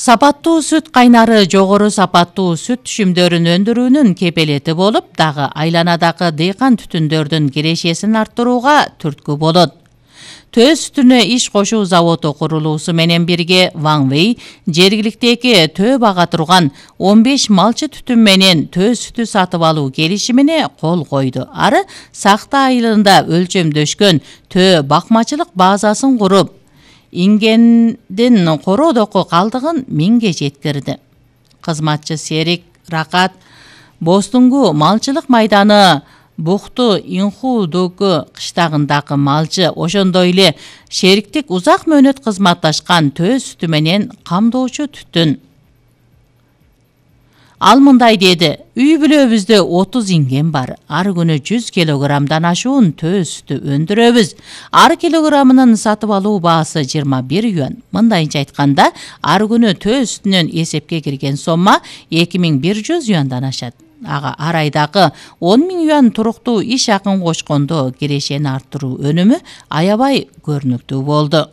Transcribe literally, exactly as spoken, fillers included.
Сапаттуу сүт кайнары жогору сапаттуу сүт түшүмдөрүн өндүрүүнүн кепелети болуп, дагы айланадагы дыйкан түтүндөрдүн кирешесин арттырууга түрткү болот. Төө сүтүнө иш кошуу заводу курулуусу менен бирге Ван Вэй жергиликтеги төө бага турган он беш малчы түтүн менен төө сүтү сатып алуу келишимине кол койду. Ары Сакта айылында өлчөмдөшкөн төө бакмачылык базасын куруп, ингендин короодоку калдыгын миңге жеткирди. Кызматчы Серик Ракат Бостунгу малчылык майданы Букту Инхудугу кыштагындагы малчы, ошондой эле шериктик узак мөөнөт кызматташкан төө сүтү менен камдоочу түтүн. Ал мындай деди: үй бүлөбүздө отуз инген бар. Ар күнү жүз килограммдан ашуун төө сүтү өндүрөбүз. Ар килограммынын сатып алуу баасы жыйырма бир юан. Мындайча айтканда, ар күнү төө сүтүнөн эсепке кирген сомма эки миң бир жүз юандан ашат. Ага ар айдагы он миң юан туруктуу иш акын кочкондо кирешени арттыруу өнүмү аябай көрүнүктүү болду.